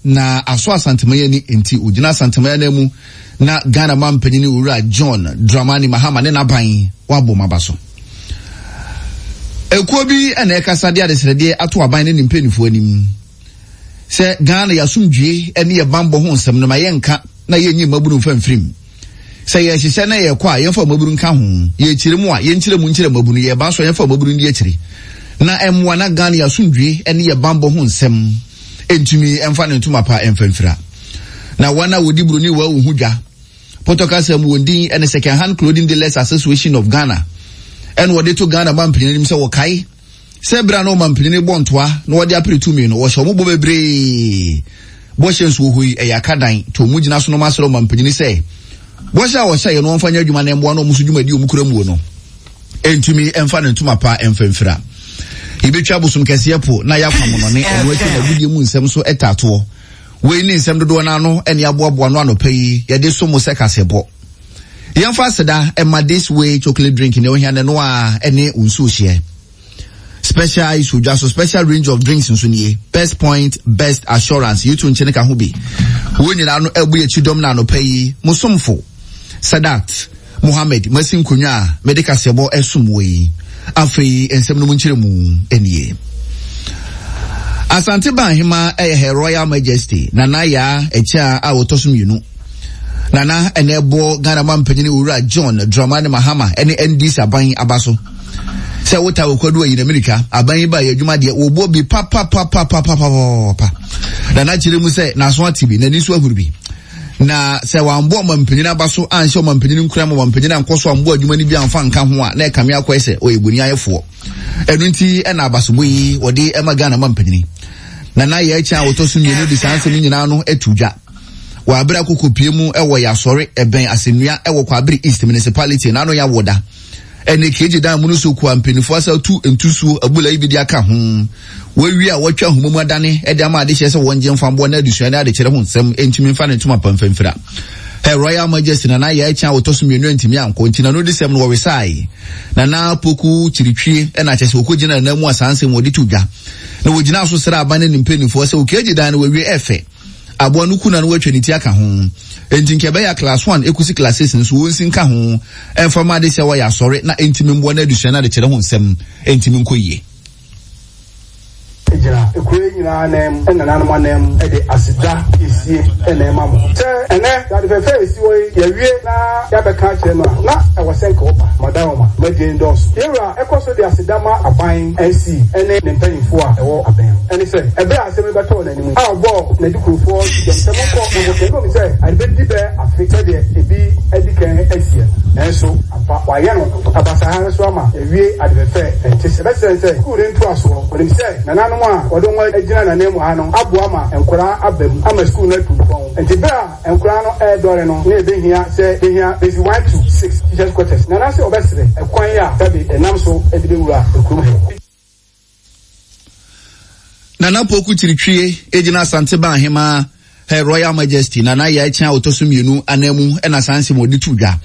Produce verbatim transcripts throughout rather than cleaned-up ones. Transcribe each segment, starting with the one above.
Na asɔ Asanteman ani nti ogyina Asanteman anan mu na Ghana manpanyin Owura John Dramani Mahama ne n'aban wabɔ mu aba so. Ekuo bi na ɛkasa de adesrɛdeɛ ato aban ne ne mpanimfoɔ anim sɛ Ghana yɛasomdwie ne yɛ bambɔ ho nsɛm no ma yɛnka na yɛnyi mmabunu mfa mfirim. Sɛ yɛhyehyɛ na yɛkɔ a, yɛmfa mmabunu nka ho. Yɛkyerɛ mu a, yɛnkyerɛ mu nkyerɛ mmabunu. Yɛba nso a, yɛmfa mmabunu ndi akyire. Na ɛmmoa na Ghana yɛasomdwie ne yɛ bambɔ ho nsɛm ntumi mfa ne ntoma pa mfa mfira. Na wɔn a wɔdi buroni wɔ ho dwa pɔtɔ kasa mu wɔn din ne Second Hand Clothing Dealers Association of Ghana ɛna wɔde to Ghana mampanin anim sɛ wɔkae sɛ berɛ a na ɔmampanin bɔ ntoa na wɔde apere tumi no, wɔhyɛ wɔn bɔ bebree. Bɔhyɛ nso wɔ hɔ yi, ɛyɛ akadan nti wɔn gyina so na wɔn asrɛ ɔmampanin sɛ bɔhyɛ a wɔhyɛ yɛ no wɔmfa nyɛ adwuma na mmoa na wɔn nso dwumadi wɔn kura muo no ntumi mfa ne ntoma pa mfa mfira. Yɛbɛtwa bosom kɛseɛ po na yɛakɔ amonɔne, ɛno akyi na agudie mu nsɛm so ɛtaatoɔ. Wei ne nsɛm dodoɔ no ano ɛne aboaboa no anɔpa yi yɛde so mo sɛ kasɛbɔ. Yɛmfa aseda ɛma This Way chocolate drink ne ohia ne no a ɛne nsuo hyeɛ. Special ice odwa so special range of drinks nso nie. Best Point, Best Assurance, yi to nkyɛn ka ho bi. Wɔn nyinaa no ɛbu akyi dɔm na anɔpa yi mo somfo Sadat Mohammed masi nkonnwa a mede kaseɛbɔ ɛsom wɔ yi. Afei nsɛm no mu nkyerɛ mu nie. Asante Banhema ɛyɛ Her Royal Majesty Nana Yaa Ɛkyɛ a wɔtɔ so mmienu. Nana ɛna ɛbɔ Ghana mampanyin Owura John Dramani Mahama ɛne N D C aban aba so. Sɛ wota okwadu ayi na mirika aban yi ba yɛ adwuma deɛ wɔbɔ bi papapapapapapa. Nana kyerɛ mu sɛ n'aso ate bi, n'ani so ahuru bi. Na sɛ wambɔ ɔmampanyin aba so anhyɛ ɔmampanyin nkura ma ɔmampanyin ankɔ so ambɔ adwuma no bi amfa nka ho a, na ɛkame akɔɛ sɛ ɔyɛ boni ayɛfoɔ. Ɛno nti ɛna abasobɔ yi wɔde ɛma Ghana mampanyin. Nana yɛ ɛkyɛn a wɔtɔ so mmienu de saa nsɛm nyinaa no atu dwa. Wɔ abere akoko pie mu ɛwɔ Yasɔre ɛbɛn Asennua ɛwɔ Kwabere East Municipality n'ano yɛ awoda. Ɛne keegye dan mu no so kua mpanimfoɔ asa tu ntusuo abula yi bi de aka ho. Wɔawie a wɔatwa ahoma mu adane ɛde ama adehyɛ sɛ wɔn gye mfa na adesua ne adekyerɛ ho nsɛm ntumi mfa ne ntoma pamfamfira. Her Royal Majesty Nana yɛ ɛkyɛn a wɔtɔ so mmienu ntumi ankɔ nti na no de sɛm no wɔwesae. Nana Poku Kyiritwie ɛna kyɛ sɛ wɔkɔgyina nana mu a saa nsɛm wɔde to dwa. Na wɔgyina so srɛ aban ne ne mpanimfoɔ sɛ okeegye dan no wɔawie ɛfɛ. Aboa no kuna no wɔatwa ne ti aka ho. Enti nka ɛbɛyɛ class one ekosi class six nso wɔn nsi nka ho. Ɛmfa ma ade sɛ wɔyɛ asɔre na ntumi mboa na adesua na adekyerɛ ho nsɛm ntumi nkɔ yie. Gyina ekuro yi nyinaa nan mu, ɛna nananom anan mu, ɛde aseda esie ɛna ɛma mo sɛ ɛnɛ dade fɛfɛ esi hɔ yi yɛwie na yɛabɛka akyerɛ no a na ɛwɔ sɛ nka ɔba madawoma madie ndɔɔso. Yɛwura ɛkɔ so de aseda ma aban N C ɛne ne mpanyinfoɔ a ɛwɔ abɛn mu, ɛne sɛ ɛberɛ a asɛm yi bɛtɔɔ n'anim a ɔbɔɔ n'adikurofoɔ dɛm sɛ monkɔ na mokɛ ɛnum sɛ ade bɛdi bɛɛ afe sɛdeɛ ebi adi kan asiɛ no, nanso ampa wayɛ no abasaha nso ama yɛwie ade fɛfɛ ɛnte sɛ ɛbɛsɛn sɛ sukuu ne ntoasoɔ. Wɔnim sɛ nananom a wɔde wɔn agyina n'anan mu ha no aboa ma nkwaraa aba mu ama sukuu no atu mpɔn, nti bere a nkwaraa no ɛredɔre no na ebehia sɛ behia basic one to six teachers quarters. Nana sɛ ɔbɛsrɛ ɛkwan a sɛbi ɛnam so de bɛwura ekurom ha. Nana Poku Kyiritwie egyina Asante Banhema Her Royal Majesty Nana yɛ ɛkyɛn a wɔtɔ so mmienu anan mu ɛna saa nsɛm wɔde to dwa.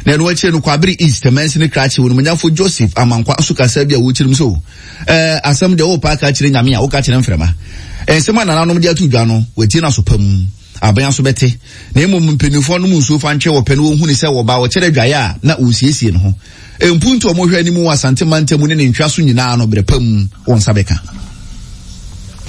Na ɛno akyire no, Kwabere East mansini krakye onimonyafo Joseph Amankwa nso kasa bi a wɔkyerɛ mu so ɛɛ asɛm deɛ wɔrepa aka kyerɛ Nyame a wɔka kyerɛ mframa. Nsɛm a nananom de ato dwa no, wɔatie no aso pa mu, aban aso bɛte, na mmom mpanimfoɔ no mu nsuo fa ntwe wɔpɛ no wɔhu ne sɛ wɔba wɔkyerɛ adwaeɛ a na wɔsiesie ne ho. Mpuntu a wɔhwɛ anim wɔ Asante mantam ne ne ntwa so nyinaa no, berɛ pa mu wɔn nsa bɛka.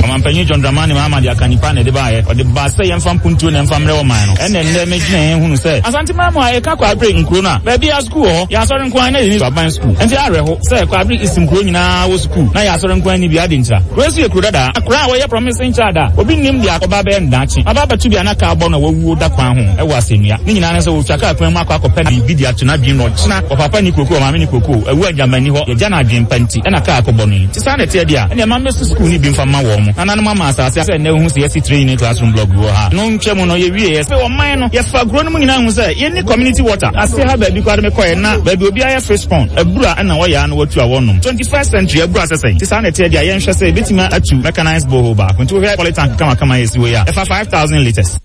Ɔmampanyin John Dramani Mahama de aka nipa na ɛde baayɛ, ɔde ba sɛ yɛmfa mpuntuo na ɛmfa mmerɛ ɔman no. Ɛnna nnɛ megyina yɛn hunu sɛ Asante man mu a ɛka Kwabere nkuro no a baabi a sukuu wɔ hɔ, yɛ asɔre nko ara na yɛni aban sukuu, nti awerɛho sɛ Kwabere East nkuro nyinaa wɔ sukuu na yɛ asɔre nko ara ni bi ade ntira. Kuro nso yɛ kuro dadaa, akora a wɔyɛ promising child a obi nim deɛ ɔba bɛyɛ no daakye aba abɛto bi a na kaa bɔ no a wawuo da kwan ho ɛwɔ Asɛnnua ne nyinaa ne sɛ wɔtwa kaa kwan mu akɔ akɔpɛ biribi de ato n'adwene mu ɔkyena ɔpapa ni koko, ɔmaame ni koko, awu agyama ni hɔ yɛgya no adwene pa nti ɛna kaa akɔbɔ no yi. Nti saa na ɛteɛ deɛ a ɛnna ɛma mmɛsi sukuu no bi mfa ma wɔn mo nananom ama asase sɛ nnɛ wohu sɛ yɛsi three unit classroom block bi wɔ ha no ntwa mu no yɛwie yɛ sɛ ɔman no yɛfa kuro no mu nyinaa hu sɛ yɛnni community water ase ha. Baabi koraa de mekɔɛ na baabi obiara yɛ fish pond abura ɛna wɔyɛ ano watu a wɔnom twenty-first century abura sɛsɛn. Nti saa na ɛteɛ deɛ a yɛnhwɛ sɛ yɛbɛtumi atu mechanized borehole baako. Nti wohwɛ polytank kamakama yɛsi wɔ yi a ɛfa five thousand litres.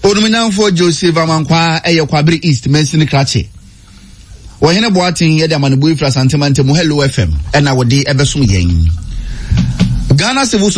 Onumnyamfoɔ Joseph Amankwa ɛyɛ Kwabere East mansini krakye. Wɔhene Boaten yɛde amanebɔ yi firi Asante mantam Hello F M ɛna wɔde ɛbɛsom yɛn. Ghana Civil Society